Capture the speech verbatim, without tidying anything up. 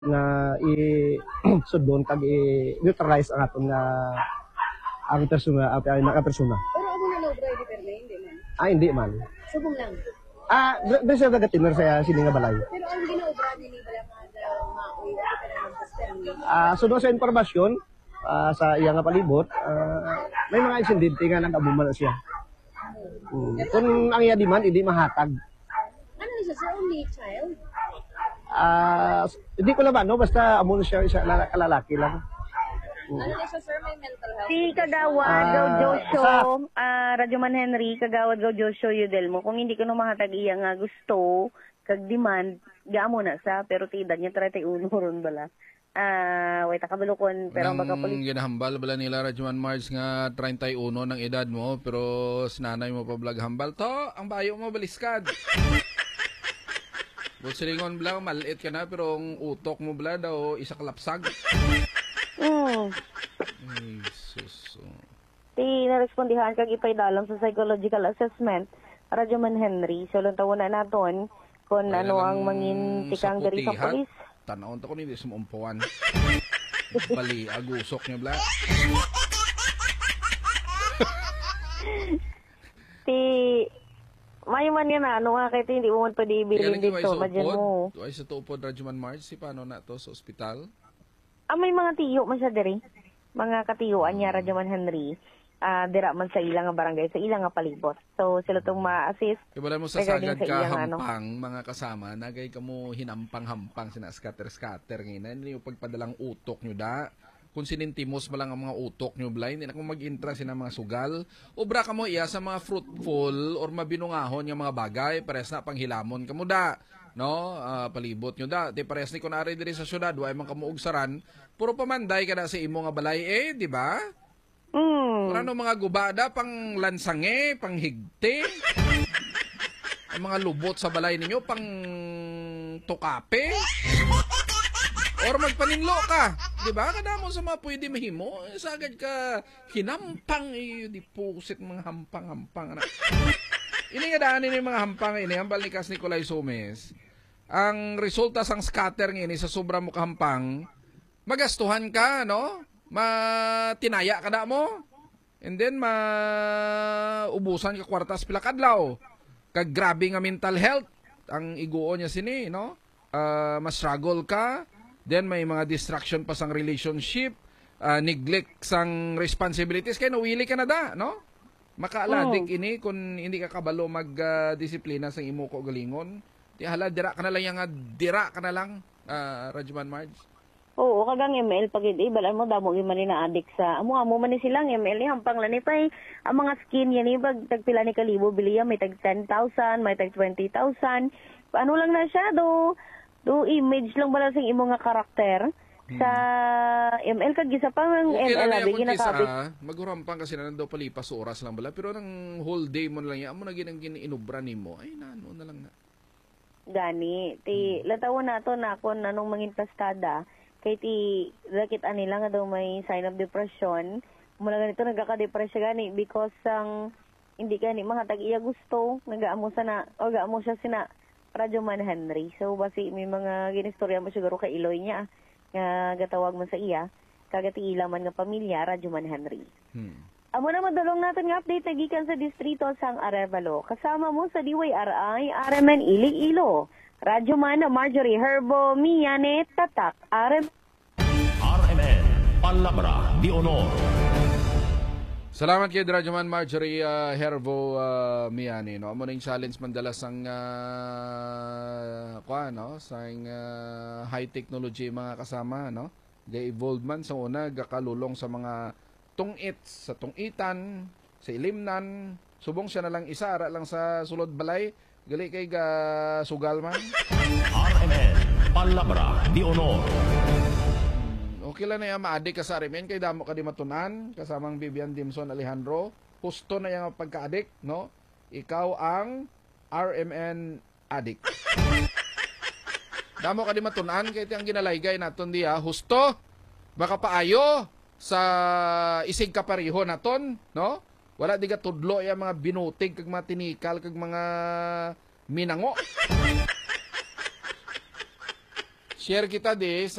nga i-, sudlon kag i-neutralize ang aton nga, ang persona, ang, ang mga persona. Pero amo na na-obra ni Perme, hindi man? Ah, hindi man. Subong lang. Ah, dre-, dre siya nagatinor sa sini nga balay. Pero ang ginaobra ni Nibala nga maoy, kita na lang sa Perme. Ah, suno sa impormasyon, ah, sa iya nga palibot, ah, may mga insidente nga nag-amo man siya. Mm. Kung ang iya demand, hindi mahatag. Ano na siya, sir? Only child? Ah, s-, hindi ko na ba, no? Basta amo na siya, isa, lala-, lalaki lang. Mm. Ano na siya, sir? May mental health Si condition? Kagawad Ah, Gaudiosio, sa ah, Radyoman Henry, Kagawad Gaudiosio Yudelmo, kung hindi ko no mahatag iya nga gusto, kag demand, gaamo na sa, pero ti edad niya treinta y uno ron bala. Ah, wait, kabalukon, pero ang Nang baka puli- ginahambal bala nila Radyoman Marge nga treinta y uno nang edad mo, pero si nanay mo pa bala hambal, "To, ang bayo mo baliskad." Buot silingon bala, malit ka na, pero ang utok mo bala daw, isa ka lapsag. Mm. Ay, sus, oh. Ti narespondihan kag ipaidalom sa psychological assessment, Radyoman Henry. So, lantawon na naton kung Kaya ano lang ang mangin tikang diri sa sakutihat. Pulis. Tanawon ta ko ni, di sa maumpuan. Bali, agusok niya, bla. Ti, may man nga na, ano nga, kay ti, hindi mo man pwede Kaya ibilin lagi, dito, why sa imagine upod? Mo. Why sa upod, Radyoman Marge? Si paano na to sa ospital? Ah, may mga tiyo man siya diri. Mga katiyuan niya, Mm. Radyoman Henry. Ah, dira man sa ila nga barangay, sa ila nga palibot. So, sila tong Mm. ma-assist Kay wala mo sa regarding sagad sa ka iyang, ano. Hampang, mga kasama, nagay ka mo hinampang-hampang, sina scatter-scatter, nga ina, hindi yung pagpadalang utok nyo, da. Kung sinintimos mo lang ang mga utok nyo, bla, hindi na kamo mag-intra sina mga sugal. Obra kamo iya sa mga fruitful or mabinungahon nga mga bagay, pares na panghilamon kamo, da. No? Ah, palibot nyo, da. Di pares ni kunwari diri sa syudad, wa man kamo ugsaran, puro pamanday ka na sa imo nga balay, eh, di ba? Mm. Wala no mga guba da, pang lansange, pang higte. Ang mga lubot sa balay ninyo, pang tukape. Or magpaninlo ka, di ba? Kadamo sa mga pwede mahimo. Sagad ka, hinampang, eh, di pusit mga hampang-hampang, anak. Ini nga daan ini mga hampang, ini, hambal ni Kas Nicolay Sumes. Ang resulta sang scatter nga ini sa sobra mo kahampang, magastuhan ka, no? Matinaya ka na mo. And then, maubusan ka kwartas pila kadlaw. Kag grabe nga mental health ang iguo niya sini, no? Ah, ma-struggle ka. Then, may mga distraction pa sang relationship, ah, neglect sang responsibilities. Kaya nawili ka na da, no? Makaaladik Mm. ini kung hindi ka kabalo mag, ah, disiplina sang imo kaugalingon. Di hala, dira ka na lang, yang, ah, dira ka na lang, ah, Radyoman Marge. Oo, kag ang M L pa gid, eh, balaan mo, damo gyud man ni naadik sa, amo, amo man ni sila, ang M L ni hampang lang ni pay, ang mga skin yan, eh, bag, tagpila ni kalibo, biliya, may tag ten thousand, may tag twenty thousand. Ano lang na siya, do, do image lang bala sa imo nga karakter Hmm. sa M L, kag isa pa ang Okay M L lang abi, yan kung ginakabit. Kisa, maghuram pa kasi na daw palipas oras lang bala, pero nang whole day mo na lang yan, amo na gid ang gin-, inubra nimo, ay, nano na lang na. Gani, ti, Hmm. lantawon nato na kung anong mangin pastada. Kay ti, nakit-an nila nga daw may sign of depression. Mula ganito, nagkaka-depress siya gani because sang hindi gani mahatag iya gusto, nagaamo sana, o gaamo siya sina Radyo Man Henry. So, basi may mga ginistorya mo siguro kay Iloy niya, nga gatawag man sa iya, kag ti ila man nga pamilya, Radyo Man Henry. Hmm. Amo na madulong naton nga update na gikan sa distrito sang Arevalo. Kasama mo sa D Y R I, R M N Iloilo. Radyo Man Marjorie Herbo, Miyane, Tatak, R M. R M N, Palabra de Honor. Salamat kay Radyo Man Marjorie, ah, Herbo, ah, Miyane, no? Amo na yung challenge man dala sang, ah, kwa, no? Sang, ah, high technology, mga kasama, no? Ga-evolve man sa una, gakalulong sa mga tungit, sa tungitan, sa ilimnan, subong siya na lang isa, ara lang sa sulod balay, gali kay ga sugal man. R M N, Palabra de Honor. Hmm, okay lang na yan, maadik ka sa R M N, kay damo ka di matunan, kasamang Vivian Dimson Alejandro, husto na yung pagkaadik, no? Ikaw ang R M N adik. Damo ka di matunan, kay ti ang ginalaygay naton diya, husto, makapaayo sa isig kapareho naton, no? Wala di gatudlo ya mga binutig kag mga tinikal kag mga minango. Share kita di